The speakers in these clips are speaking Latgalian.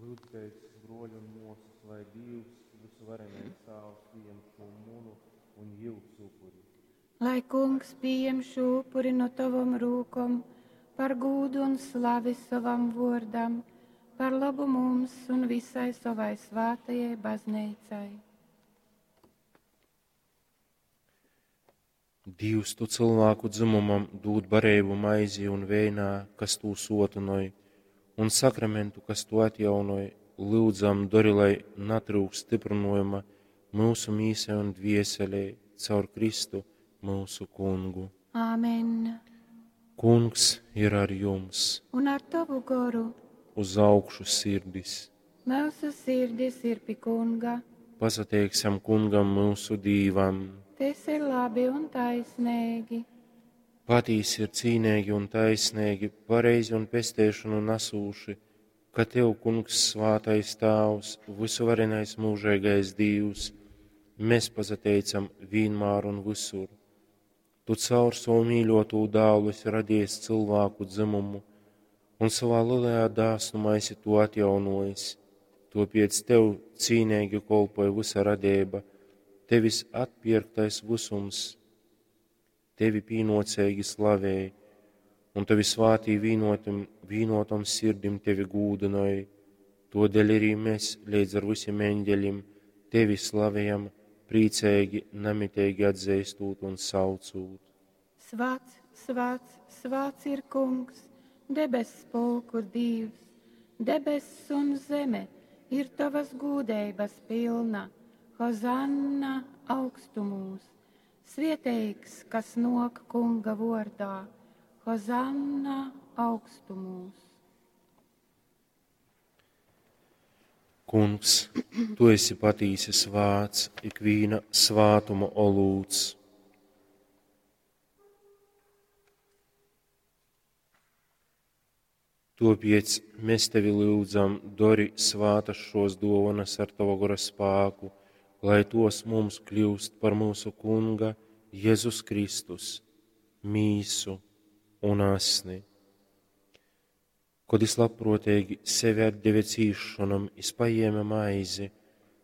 Lyudzēs, bruoļi un muosys, lai Dīvs, vysuvarenais Tāvs, pījem šū munu un jiusu upuri. Lai Kungs pījem šū upuri no tovom rūkom par gūdu un slavi sovam vuordam, par lobu mums un visai sovai svātajai bazneicai. Dīvs, tu cylvāku dzymumam dūd bareibu maizī un veinā, kas tū suotynoj, un sakramentu, kas tū atjaunoj, lyudzam, dori, lai natryukst styprynojuma myusu mīsai un dvieselei caur Kristu, myusu Kungu. Āmen. Kungs ir ar jums! Un ar tovu goru. Uz augšu sirdis! Myusu sirdis ir pi Kunga. Pasateiksim Kungam myusu Dīvam! Tas ir labi un taisnīgi. Patīsi ir cīneigi un taisneigi, pareizi un pesteišonu nasūši, ka Tev, Kungs, svātais Tāvs, vysuvarenais mūžīgais Dīvs, mēs pasateicam vienmēr un visur. Tu caur savu mīļotū dālu esi radījis cilvēku dzimumu un savā lielajā dāsnumā esi to atjaunojis. Tāpēc Tev cīnīgi kolpoja visa radība, Tevis atpirktais visums, Tevi pīnocīgi slavēja, un Tavi svātī vīnotim, vīnotom sirdim Tevi gūdināja. Todēļ arī mēs līdz ar visiem eņģeļiem Tevi slavējam, priecīgi, namitīgi atzīstot un saucot. Svāts, svāts, svāts ir Kungs, debess pulku Dievs, debess un zeme ir tavas gūdeibas pilna. Hozanna augstumūs, svieteigs, kas nok Kunga vordā. Hozanna augstumūs. Kungs, tu esi patīsi svāts, ikvīna svātuma olūts. Tāpēc mēs tevi lūdzam, dori svātas šos dovanas ar tava gora spēku, lai tos mums kļūst par mūsu Kunga Jēzus Kristus, mīsu un asni. Kad es labprātīgi sevi atdeve cīšanam, es paņēma maizi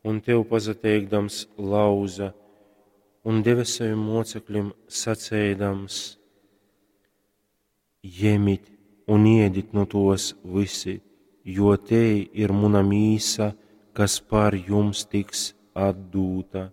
un tev pazateikdams lauza un deva saviem mocekļiem sacēdams: Ņemit un iedit no tos visi, jo te ir muna mīsa, kas par jums tiks atdūta.